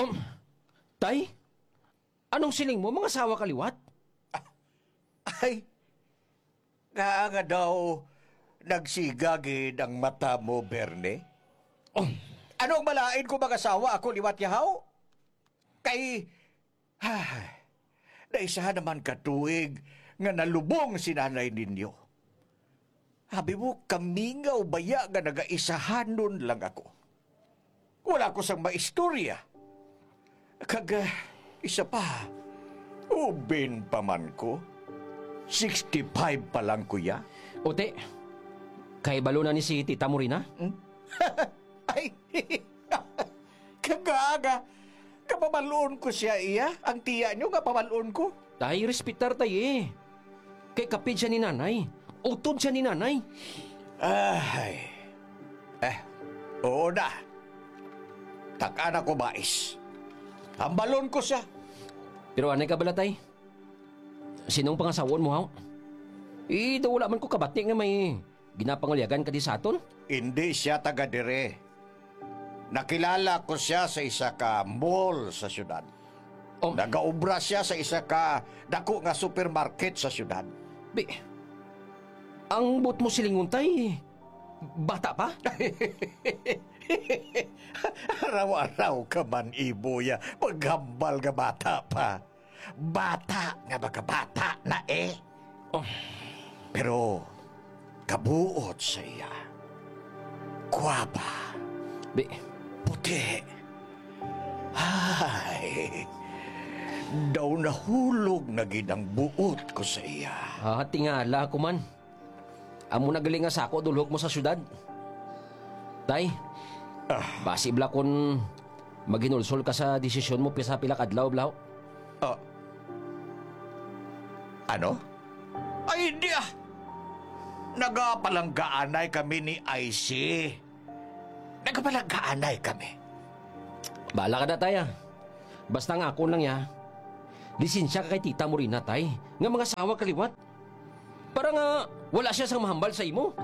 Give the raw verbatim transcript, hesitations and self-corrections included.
Um, tay? Anong siling mo, mangasawa ka liwat? Ay, nga nga daw nagsiga gid ang mata mo, Berne? Oh. Ano ang malain ko mangasawa ako liwat, yahaw? Kay, ay, naisahan naman ka tuig nga nalubong si nanay ninyo. Abi mo, kamingaw baya nga nagaisahanon lang ako. Wala ko sang maistorya. Kag, ah, isa pa, ubin pa man ko. Sixty-five pa lang, kuya. Uti, kay balo na ni si Tita Morina? Hmm? Ay, kagaga. Kapabalon ko siya, iya. Ang tiya nyo nga pabalon ko. Tay, respetar tay, eh. Kay kapid siya ni nanay. Utod siya ni nanay. Ay. Eh, oo na. Takaan ako mais. Hambalon ko siya. Pero anay ka bala, tay? Sinong pangasawon mo, haw? Eh, daw wala man ko kabati nga may ginapangulyagan ka di sa aton? Hindi siya taga dire. Nakilala ko siya sa isa ka mall sa syudad. Oh. Nagaobra siya sa isa ka dako nga supermarket sa syudad. Bi, ang buot mo silingon, tay, bata pa? Araw-araw ka man, Iboy, ah, maghambal nga bata pa. Bata nga baga bata na, eh. Oh. Pero kabuot sa iya. Gwapa. Bi- Puti. Ay. Daw nahulog na gid ang buot ko sa iya. Ah, tingala ko man. Amo na gali nga sako dulhog mo sa syudad. Tay, ah, basi bala kun maghinulsol ka sa desisyon mo pisa pila ka adlaw, bala. Ah. Ano? Ay, hindi ah. Nagapalanggaanay kami ni I C. Nagapalanggaanay kami. Bala ka na, tay, ah. Basta ang akon lang, ya. Lisensya ka kay Tita Morina, tay, nga mangasawa ka liwat. Para nga wala siya sang mahambal sa imo.